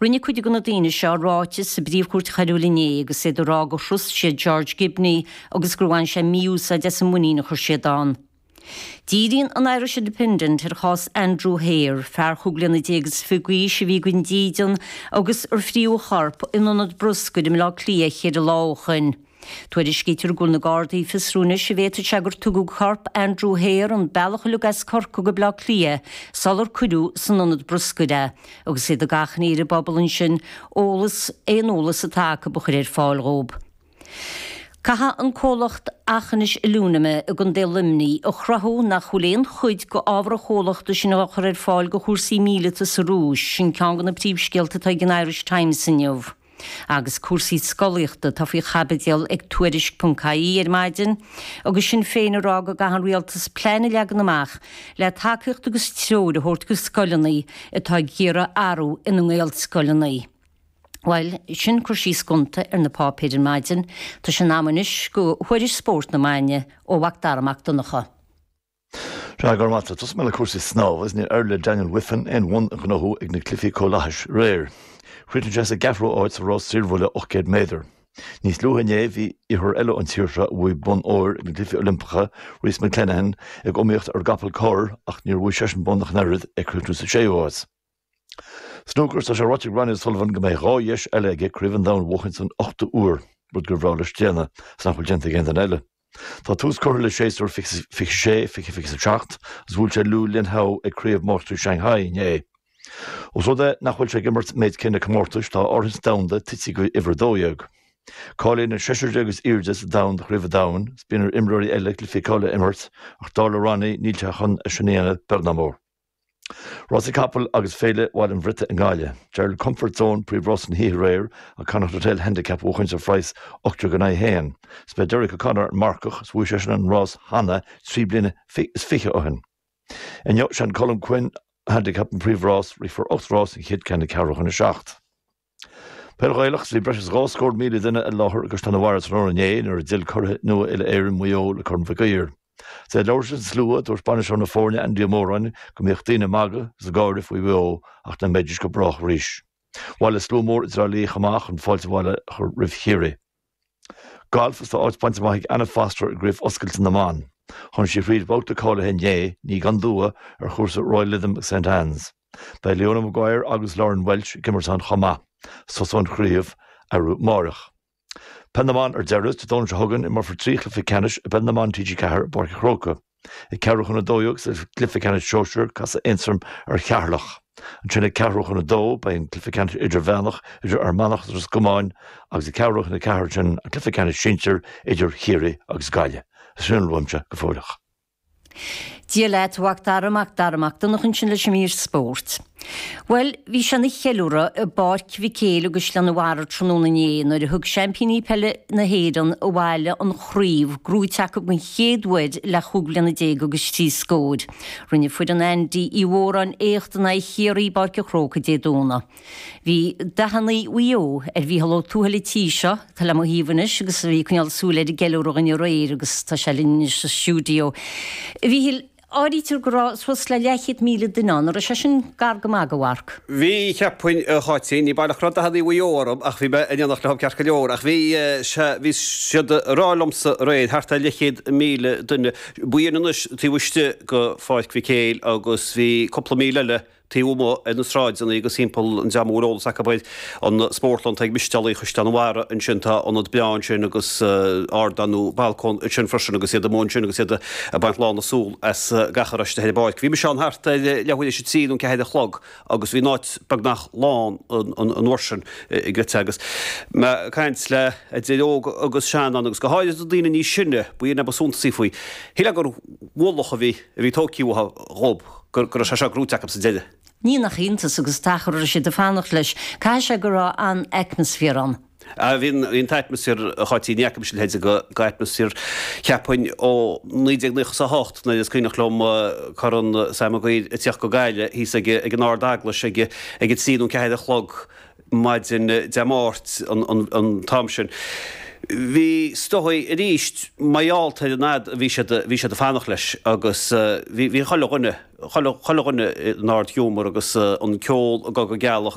Rinne cuid de na daoine seo ráiteas sa bPríomh-Chúirt Choiriúil inné agus iad ag rá gur thrust siad George Gibney agus gur bhain sé mí-úsáid as an muinín a chuir siad ann. Díríonn an Irish Independent ar chás Andrew Hare, fear chúig bliana déag is fiche d'aois a bhí gan dídean agus ar fríodh a chorp in ionad bruscair i mBleá Cliath cheithre lá ó shoin. Tuairiscítear go bhfuil na Gardaí ag fiosrú anois an bhféadfadh sé gur tugadh corp Andrew Hare an bealach uilig as Corcaigh go Bleá Cliath sular cuireadh san ionad bruscair é, agus iad ag achainí ar an bpobal ansin eolas, aon eolas atá acu a chur ar fáil dhóibh. Caithfidh an comhlacht Aughinish Alumina i gContae Luimnigh a chruthú nach bhfuil aon chuid de ábhar an chomhlachta sin á chur ar fáil do chúrsaí míleata sa Rúis, sin ceann de na príomhscéalta atá ag an Irish Times inniu. Agus cúrsaí scolaíochta atá faoi chaibidil ag Tuairisc ponc ie ar maidin, agus Sinn Féin ag rá go gcaithfidh an rialtas plean a leagan amach le tacaíocht agus treoir a thabhairt do scoileanna atá ag iarraidh athrú ina nGaelscoileanna. Bhuel, sin cur síos gonta ar na páipéir ar maidin. Tá sé in am anois do thuairisc spóirt na maidine ó Mhac Dara Mac Donncha. Sea, go raibh maith agat. Tosóidh mé le cúrsaí snámha agus níor éirigh le Daniel Wiffen aon bhonn a ghnóthú ag na Cluichí Comhlathais aréir. Chríochnaigh sé sa gceathrú háit sa rás saorbhuille 800 méadar. Níos luaithe inné bhí iarrthóir eile ón tír seo a bhuaigh bonn óir ag na Cluichí Oilimpeacha, Rhys McClenaghan, ag iomaíocht ar an gcapall corr ach níor bhuaigh seisean bonn ach an oiread, ag críochnú sa séú háit. Snúcar, Tá sé ráite ag Ronnie O'Sullivan go mbeidh 2 dheis eile aige Craobh an Domhain a bhuachaint don ochtú huair, rud gur bhreá leis déanamh, is nach bhfuil déanta ag aon duine eile. Tá tús curtha le séasúr 26, 20 27 agus bhuail sé Liu Linhao ag Craobh Máistrí Shanghai inné. Ós rud é nach bhfuil sé ag imirt an méid céanna comórtais, tá a áirithint domhanda tite go uimhir 12. Cáilíonn an seisear déag is airde sa domhan do Chraobh an Domhain, is bíonn ar imreoirí eile cluichí cáilithe a imirt, ach dar le Ronnie, níl sé chun é sin a dhéanamh, beag ná mór. Rásaí capall agus Féile Bhaile an Bhriotaigh i nGaillimh. D'éirigh le Comfort Zone príomhrás na hoíche aréir, an Connacht Hotel Handicap a bhuachaint ar phraghas 18 in aghaidh 1. Is b'é Derek O'Connor an marcach is bhuaigh seisean an rás cheana 3 bliana is fiche ó shin. Inniu, sé an Colm Quinn Handicap an príomhrás, rithfear 8 rás, an chéad ceann ag ceathrú chun a 7. Peil Ghaelach, Bhí breis is 2 scór míle duine i láthair i gCaisleán an Bharraigh tráthnóna inné nuair a d'fhill curaithe nua uile-Éireann, Maigh Eo, le Corn Mhic Uidhir. Is é ag labhairt leis an slua, dúirt bainisteoir na foirne Andy Ó Móráin go mbíodh daoine ag magadh agus ag gáire faoi Mhaigh Eo ach nach mbeidís go brách arís. Bhailigh slua mór i dTrá Lí chomh maith chun fáilte abhaile a chur roimh Chiarraí. Galf, Is tá áit bainte amach ag Anna Foster i gCraobh Oscailte na mBan. Tháinig sí thríd babhta cáilithe inné, ní gan dua, ar chúrsa Royal Lytham St Annes. Beidh Leona Maguire agus Lauren Welch ag imirt ann chomh maith. Tosóidh an chraobh arú amáireach. Peil na mBan ar deireadh, Dé Domhnaigh seo chugainn imreofar 3 chluiche ceannais i bPeil na mBan TG4 i bPáirc an Chrócaigh. Ag ceathrú chun 12 sa gcluiche ceannais sóisir, casfaidh Aontroim ar Cheatharlach. Ansin ag ceathrú chun 2 beidh an cluiche ceannais idirmheánach idir Fhear Manach agus Ros Comáin agus ag ceathrú chun 4 ansin an cluiche ceannais sinsir idir Chiarraí agus Gaillimh. Sin a bhfuil uaimse go fóilleach. Dia leat, a Mhac Dara, Mac Dara Mac Donncha ansin leis an mír spóirt. Bhuel, bhí sé ina cheiliúradh i bPáirc Mhic Éil i gCaisleán an Bharraigh tráthnóna inné nuair a thug seaimpíní peile na hÉireann abhaile an chraobh, gnóite acu den chéad uair le chúig bliana déag agus trí scóir. Rinne foireann Andy Uí Mhóráin éacht in aghaidh Chiarraí i bPáirc an Chrócaigh Dé Domhnaigh. Bhí dathanna Mhaigh Eo ar Mhícheál Ó Tuathail an tí seo, atá le mo thaobh anois agus a bhí ag coinneáil súil ar an gceiliúradh againn aréir agus tá sé linn anois sa stiúideo. A Mhíchíl, Áirítear go raibh suas le leathchéad míle duine ann, an raibh sé sin gar go maith do mharc? Bhí, cheapfainn, a Cháitín. Ní baileach go raibh dathannaí Mhaigh Eo orm ach bhí mé in éineacht leo ceart go leor. Ach bhí, sea, bhí siad ag rá liomsa aréir, thart ar leathchéad míle duine. B'in anois taobh istigh de Pháirc Mhic Éil agus bhí cúpla míle eile taobh amuigh ar na sráideanna agus thimpeall an dream a bhfuil eolas acu ar an spórtlann atá ag Mistealaigh Chaisleán an Bharraigh ansin, tá ionad breá ansin agus ardán nó balcóin ansin freisin agus iad amuigh ansin agus iad ag baint lán na súl as gach a raibh istigh ar an bpáirc. Bhí mise ann thart ar leathuair théis a trí nó 4 a chlog agus bhí an áit beagnach lán an uair sin i gcreidte agus mé ag caint le idir óg agus sean ann agus go háirithe na daoine níos sine, b'in é ba suntasaí faoi. Shílfeá gur mhullach a bhí a bhí tógtha uathu dhób, go raibh sé seo gnóite acu sa deireadh. Ní nach iontas agus an t-achar a raibh siad ag fanacht leis. Caithfidh sé go raibh an-atmaisféar ann. Ah, bhí an t-atmaisféar, a Cháití, ní fhaca mise a leithéid de atmaisféar, cheapfainn, ó 1998 nuair is cuimhneach liom Corn Sam Maguire ag tíocht go Gaillimh thíos ag an Ard-Eaglais ag a trí nó 4 a chlog. maidin Dé Máirt an t-am sin. Bhí, is dóigh, arís, mar gheall ar an fhad a bhí siad, bhí siad ag fanacht leis agus bhí, bhí chuile dhuine, chuile, chuile dhuine in ard-ghiúmar agus an ceol ag dul go gealach.